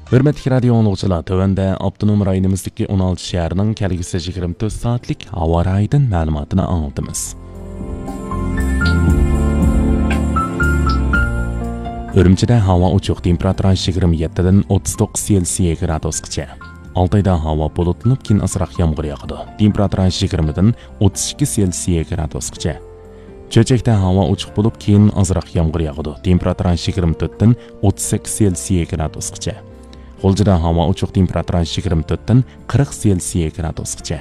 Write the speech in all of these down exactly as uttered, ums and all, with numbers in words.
ھۆرمەتلىك رادىيو ئاڭلىغۇچىلار، تۆۋەندە ئاپتونوم رايونىمىزدىكى ئون ئالتە شەھەرنىڭ كەلگۈسى يىگىرمە تۆت سائەتلىك ھاۋا رايىدىن مەلۇماتىنى ئاڭلىتىمىز. ئۈرۈمچىدە ھاۋا ئوچۇق، تېمپېراتۇرا يىگىرمە يەتتىدىن ئوتتۇز توققۇز سېلسىيە گرادۇسقىچە. ئالتايدا ھاۋا بۇلۇتلىنىپ، كېيىن ئازراق يامغۇر ياغىدۇ. تېمپېراتۇرا يىگىرمىدىن ئوتتۇز ئىككى سېلسىيە گرادۇسقىچە. چۆچەكتە ھاۋا ئوچۇق بولۇپ، كېيىن ئازراق يامغۇر ياغىدۇ. تېمپېراتۇرا يىگىرمە تۆتتىن ئوتتۇز سەككىز سېلسىيە گرادۇسقىچە. غۇلجىدا ھاۋا ئوچۇق، تېمپېراتۇرا يىگىرمە تۆتتىن قىرىق سېلسىيە گرادۇسقىچە.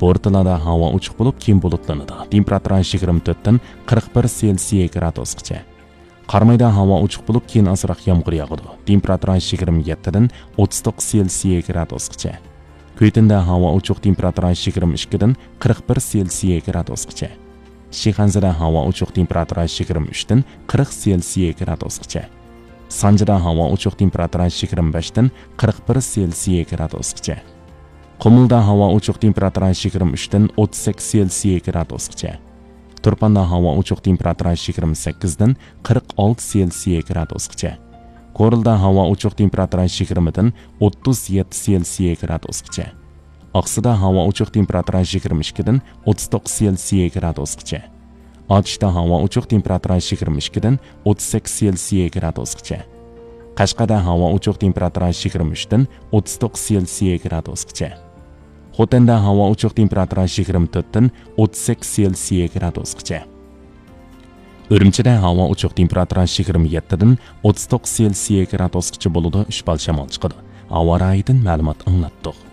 بورتالادا ھاۋا ئوچۇق بولۇپ، كېيىن بۇلۇتلىنىدۇ. تېمپېراتۇرا يىگىرمە تۆتتىن قىرىق بىر سېلسىيە گرادۇسقىچە. قارامايدا ھاۋا ئوچۇق بولۇپ، كېيىن ئازراق يامغۇر ياغىدۇ. تېمپېراتۇرا يىگىرمە يەتتىدىن ئوتتۇز توققۇز سېلسىيە گرادۇسقىچە. كۈيتۈندە ھاۋا ئوچۇق، تېمپېراتۇرا يىگىرمە ئىككىدىن قىرىق بىر سېلسىيە گرادۇسقىچە. شىخەنزىدە ھاۋا ئوچۇق، تېمپېراتۇرا يىگىرمە ئۈچتىن قىرىق سېلسىيە گرادۇسقىچە. سانجىدا ھاۋا ئوچۇق، تېمپېراتۇرا يىگىرمە بەشتىن قىرىق بىر سېلسىيە گرادۇسقىچە. قۇمۇلدا ھاۋا ئوچۇق، تېمپېراتۇرا يىگىرمە ئۈچتىن ئوتتۇز سەككىز سېلسىيە گرادۇسقىچە. تۇرپاندا ھاۋا ئوچۇق، تېمپېراتۇرا يىگىرمە سەككىزدىن قىرىق ئالتە سېلسىيە گرادۇسقىچە. كورلىدا ھاۋا ئوچۇق، تېمپېراتۇرا يىگىرمىدىن ئوتتۇز يەتتە سېلسىيە گرادۇسقىچە. ئاقسۇدا ھاۋا ئوچۇق، تېمپېراتۇرا يىگىرمە ئىككىدىن ئوتتۇز توققۇز سېلسىيە گرادۇسقىچە. ئاتۇشتا ھاۋا ئوچۇق، تېمپېراتۇرا يىگىرمە ئىككىدىن ئوتتۇز سەككىز سېلسىيە گرادۇسقىچە. قەشقەردە ھاۋا ئوچۇق، تېمپېراتۇرا يىگىرمە ئۈچتىن ئوتتۇز توققۇز سېلسىيە گرادۇسقىچە. خوتەندە ھاۋا ئوچۇق، تېمپېراتۇرا يىگىرمە تۆتتىن ئوتتۇز سەككىز سېلسىيە گرادۇسقىچە. ئۈرۈمچىدە ھاۋا ئوچۇق، تېمپېراتۇرا يىگىرمە يەتتىدىن ئوتتۇز توققۇز سېلسىيە گرادۇسقىچە بولىدۇ، ئۈچ بال شامال چىقىدۇ. ھاۋا رايىدىن مەلۇمات ئاڭلاتتۇق.